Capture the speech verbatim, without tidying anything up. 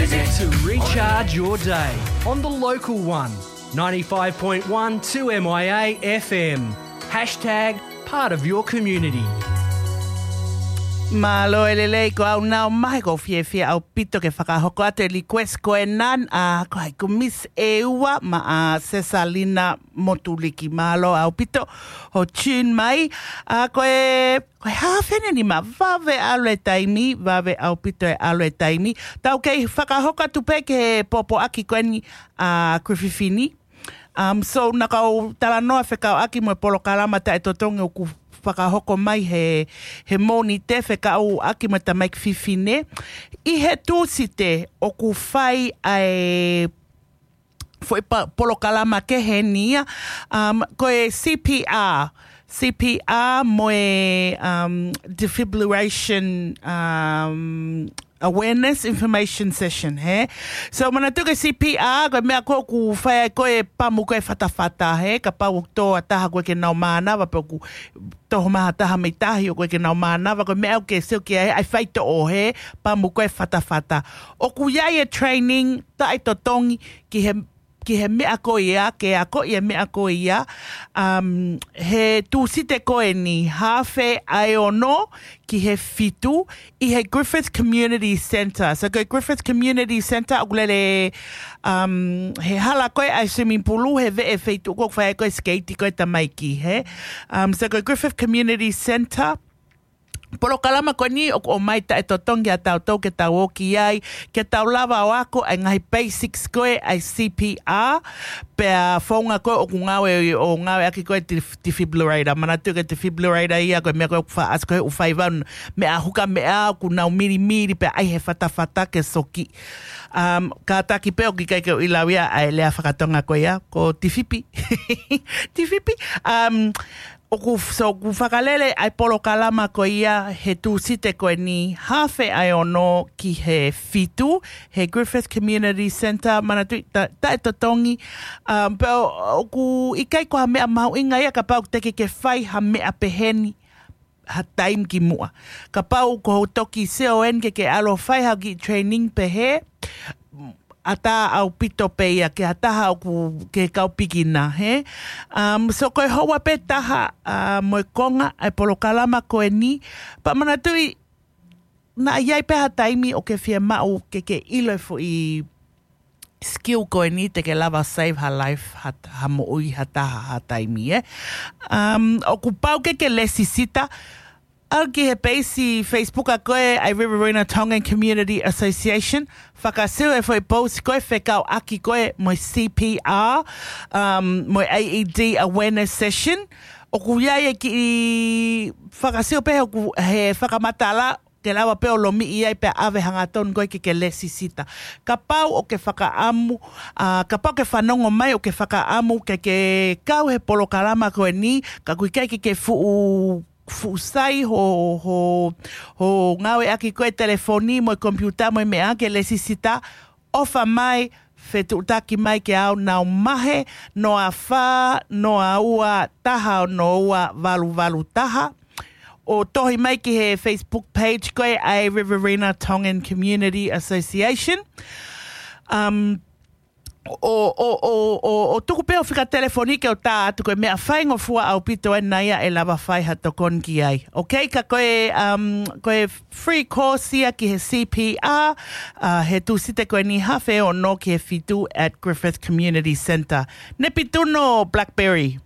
To recharge your day on the local one, ninety-five point one two M I A F M. Hashtag part of your community. Mālō e lelei, ko au Nau Mahe, ʻoku ou fiefia ʻaupito ke fakahoko atu e request ko ena, ʻa, ko hai, ko Miss ʻEua maʻa Sesalina Motuliki. Mālō ʻaupito hoʻo tune mai. ʻA, ko e, ko e haafe ʻeni ma vave ʻalu e taimi, vave ʻaupito e ʻalu e taimi. Tau kei fakahoko atu pē ki he pōpoaki ko eni ʻa Griffith ni. Um, so, naʻa ku talanoa fekauʻaki mo e polokalama taʻetotongi ʻoku fakahoko mai he, he Mōnite fekauʻaki mo e tamaiki fefine. ʻI he Tūsite ʻoku fai ʻa e foʻi pa-, polokalama kehe ʻeni ia, um, ko e C P R, C P R mo e, um, defibrillation, um, awareness information session, hē? So, manatuʻi ko e C P R, ko e meʻa ko ē ʻoku fai ai ko e pamu ko ē fatafata, hē? Kapau ʻoku tō ha taha ʻoku ʻikai ke nau mānava, pe ʻoku toho mai ha taha mei tahi ʻoku ʻikai ke nau mānava, ko e meʻa ʻoku ke sio ki ai, ʻa e faitoʻo, hē? Pamu ko ē fatafata. ʻOku ʻi ai e training taʻetotongi ki he, ki he meʻa ko ia, ke akoʻi e meʻa ko ia, um, he Tūsite ko eni, haafe ʻa e ono ki he fitu, ʻi he Griffith Community Centre. So, ko e Griffith Community Centre, ʻoku lele, um, he hala ko ē ʻa e swimming pool, he veʻe feituʻu ko ē ʻoku fai ai ko ē e sikeiti ko ē e tamaiki, hē? Um, so, ko e Griffith Community Centre, polokalama ko eni ʻoku ʻomai taʻetotongi ʻa tautolu ke tau ō ki ai, ke tau lava ʻo ako ʻa e ngaahi basics ko ē ʻa e C P R, pea founga ko ē ʻoku ngāue ʻo ngāueʻaki ko ē e def-, defibrillator. Manatuʻi ko e defibrillator ia ko e meʻa ko ē ʻoku fa-, ʻasi ko ē ʻoku fai ʻa e meʻa huka meʻa ʻoku nau milimili pea ʻai he fatafata ke soki. Um, kātaki pē ʻoku ʻikai ke u ʻiloʻi ia ʻa e lea fakatonga ko ia, ko tifipi. Tifipi. Um, ʻoku, so, ʻoku fakalele ʻa e polokalama ko ia he Tūsite ko eni, haafe ʻa e ono ki he fitu, he Griffith Community Centre, manatuʻi ta-, taʻetotongi, um, pea ʻo-, ʻoku ʻikai ko ha meʻa mahuʻinga ia kapau te ke ke fai ha meʻa pehē ni ha taimi ki muʻa. Kapau ko hoʻo toki sio eni ke ke ʻalu ʻo fai ha kiʻi training pehē, ʻatā ʻaupito pē ia ki ha taha ʻoku ke kau pikina, hē? Um, so ko e houa pē taha, uh, mo e konga ʻa e polokalama ko eni, pea manatuʻi naʻa ʻi ai pē ha taimi ʻoku ke fiemaʻu ke ke ʻilo e foʻi skill ko eni te ke lava save ha life, ha, ha moʻui ha taha ha taimi, ē? Um, ʻoku pau ke ke lēsisita, ʻalu ki he peisi Facebook ʻa ko ē ʻa e Riverina Tongan Community Association, fakasio e foʻi post ko ē fekauʻaki ko ē mo e C P R, um, mo e A E D awareness session. ʻOku ʻi ai e kiʻi fakasio pē he ʻoku, he fakamatala, ke lava pē ʻo lomiʻi ai pea ʻave hangatonu ko ē ke ke lēsisita. Kapau ʻoku ke fakaʻamu, ʻa, kapau ʻoku ke fanongo mai ʻoku ke fakaʻamu ke ke kau he polokalama ko eni, ka ʻoku ʻikai ke ke fuʻu fuʻu sai hoʻo, hoʻo, hoʻo ngāueʻaki ko ē e telefoni mo e komipiuta mo e meʻa ke lēsisita, ʻofa mai, fetuʻutaki mai kia au Nau Mahe, noa fā, noa ua, taha ono ua, valu valu taha. ʻO tohi mai ki he Facebook page ko ē ʻa e Riverina Tongan Community Association. Um, ʻo, ʻo, ʻo, ʻo, ʻo tuku pē hoʻo fika telefoni ke u tā atu, ko e meʻa faingofua ʻaupito ʻena ia ʻe lava fai ha tokoni ki ai. Ok, ka ko e, um, ko e free course ia ki he C P R, uh, he Tūsite ko eni haafe ono ki he fitu at Griffith Community Centre. Nepituno Blackberry.